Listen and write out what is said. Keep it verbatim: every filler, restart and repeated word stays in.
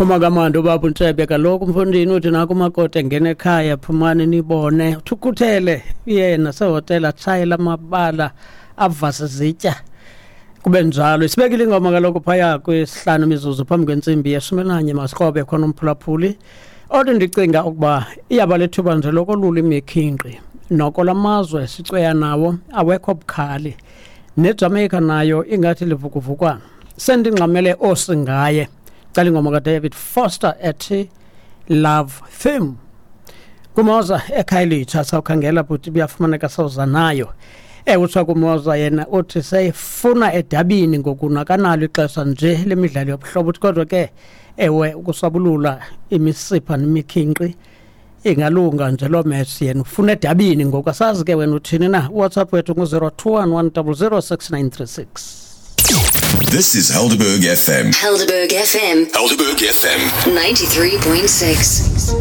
Phuma kamandi ubaba uNtshebe kaloku mfondini, uthi naku umakoti engena ekhaya, phumani nibone. Uthi ukhuthele yena sehotela, atshayela amabala, avase zitya, kube njalo. Isibekile ingoma kaloku phaya kwisihlanu imizuzu phambi kwentsimbi yeshumi elinanye. Masikrobe khona umphulaphuli othi ndicinga ukuba iyaba lethuba nje lokolula imikhinqi. Noko lamazwe sicweya nawo awekho bukhali, neJamaica nayo ingathi livukuvukwana. Sendingxamele osingaye cala ingoma kaDavid Foster ethi "Love Theme". Kumoza eKhayelitsha sawukhangela bhuti, buyafumaneka, sawuza nayo. Ewe, utsho kumoza yena uthi seyifuna edabini ngoku, nakanalo ixesha nje lemidlalo yobuhlobo. Uthi kodwa ke ewe, ukusabulula imisipha nemikhinqi ingalunga nje loo match, yena ufuna edabini ngoku. Asazi ke wena uthini na. WhatsApp wethu ngu-zero two one one double zero six nine three six. This is Helderberg F M. Helderberg F M. Helderberg F M. ninety-three point six.